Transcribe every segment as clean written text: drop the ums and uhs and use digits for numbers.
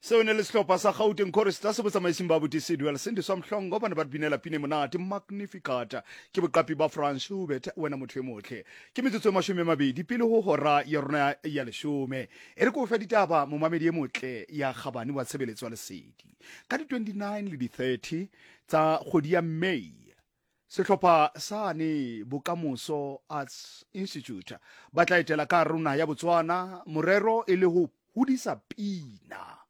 Seo ne le sehlopha sa Gauteng Choristers se botsamaising ba Abuti Sidwell Sindiswa Mhlongo ba ne ba re binela pina e monate Magnificat ke boqapi ba Franz Schubert wena motho e motle. Ke metsotso e 20 pele ho hora ya rona ya leshome. E re ke o fe ditaba momamedi e motle ya kgabane wa tshebeletso ya Lesedi. Ka di 29 le di 30 tsa kgwedi ya May Sehlopha sane Bokamoso Arts Institute ba tla etela ka hare ho naha ya Botswana, morero e le ho hodisa pina.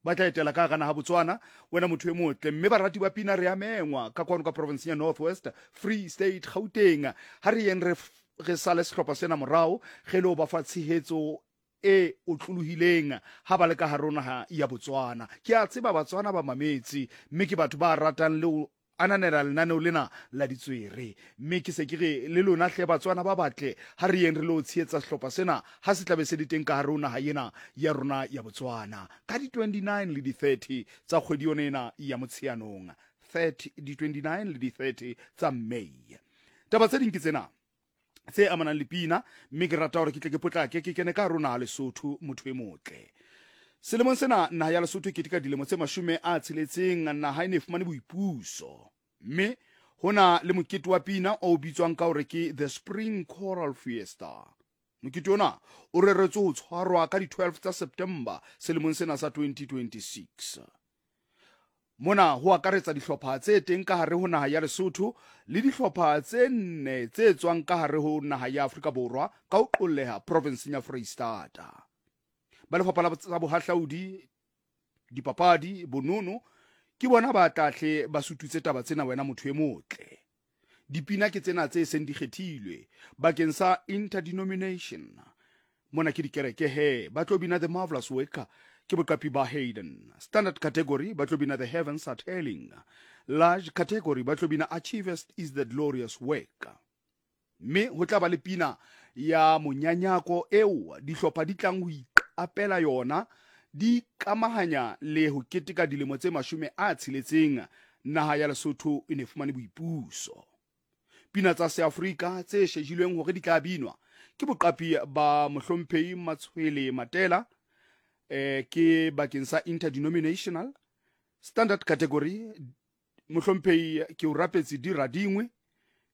Ba tla etela ka hara naha Botswana, wena motho e motle, mme barati ba pina re a mengwa ka kwano ka provinseng ya North West, Free State, Gauteng. Ha re yeng re re sale sehlopha sena morao, re lo ba fa tshehetso e otlolohileng ha ba le ka hare ho naha ya Botswana. Ke a tseba Batswana ba mametse, mme ke batho ba ratang le ho ananela lenaneo lena la ditswere. Mme ke se ke re le lona hle Batswana ba batle, ha re yeng re lo tshehetsa sehlopha sena ha se tlabe se le teng ka hare ho naha ena ya rona ya Botswana. Ka di 29 le di 30 tsa kgwedi yona ena ya Motsheanong, 30, di 29 le di 30 tsa May. Taba tse ding ke tsena. tse amanang le pina mme ke rata gore ke tle ke potlake ke kene ka rona Lesotho motho e motle. Selemong sena naha ya Lesotho e keteka dilemo tse 60 naha e ne e fumane boipuso mme ho na le mokete wa pina o bitswang ka hore ke The Spring Choral Fiesta. Mokete ona o reretswe ho tshwarwa ka di-12 tsa September selemong sena sa 2026. Mona ho akaretsa dihlopha tse teng ka hare ho naha ya Lesotho le dihlopha tse nne tse tswang ka hare ho naha ya Afrika Borwa ka ho qolleha provinseng ya Freistata. Ba lefapha la tsa bohahlaudi, dipapadi, bonono ke bona ba tla hle ba sututse taba tsena wena motho e motle. Dipina ke tsena tse seng di kgethilwe bakeng sa interdenomination. Mona ke dikereke he, ba tlo bina The Marvelous Work ke boqapi ba Hayden. Standard category ba tlo bina The Heavens Are Telling. Large category ba tlo bina Achievest is the Glorious Work. Mme ho tla ba le pina ya monyanyako eo dihlopha di tlang ho iqapela yona di ikamahanya le ho keteka dilemo tse 60 naha ya Lesotho e ne fumane boipuso. Pina tsa Seafrika tse shejilweng hore di tla binwa ke boqapi ba Mohlomphehi Matshwele Matela, eh, ke bakeng sa interdenominational standard category. Mohlomphehi ke o rapetse di radingwe,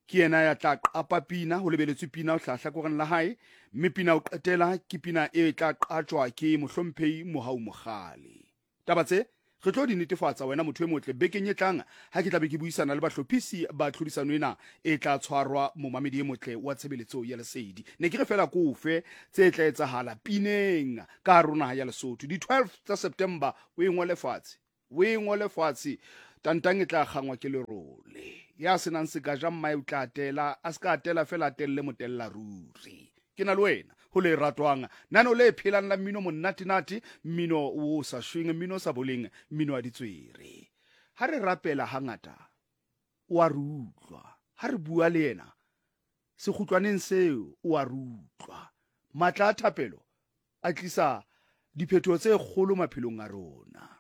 ke yena ya tla qapa pina, ho lebeletswe pina ho hlaha hlakoreng la hae, mme pina ho qetela ke pina e tla qatjwa ke Mohlomphehi Mohau Mogale. Taba tse re tlo di netefatsa wena motho e motle bekeng e tlang ha ke tla be ke buisana le bahlophisi ba tlhodisano ena e tla tshwarwa momamedi e motle wa tshebeletso ya Lesedi. Ne ke re fela ko fe tse tla etsahala pineng ka hare ho naha ya Lesotho di 12 tsa September o e ngole fatshe. O e ngole fatshe, tantang e tla kgangwa ke lerole. Ya se nang sekaja mmae o tla tela, a se ka tela fela a telle motella ruri. Ke na le wena ho le ratwang, nano le phelang la mmino monnatenate, mmino o sa shweng, mmino o sa boleng, mmino wa ditswere. Ha re rapela hangata o a re utlwa, ha re bua le yena sekgutlwaneng seo o a re utlwa. Matla a thapelo a tlisa diphetoho tse kgolo maphelong a rona.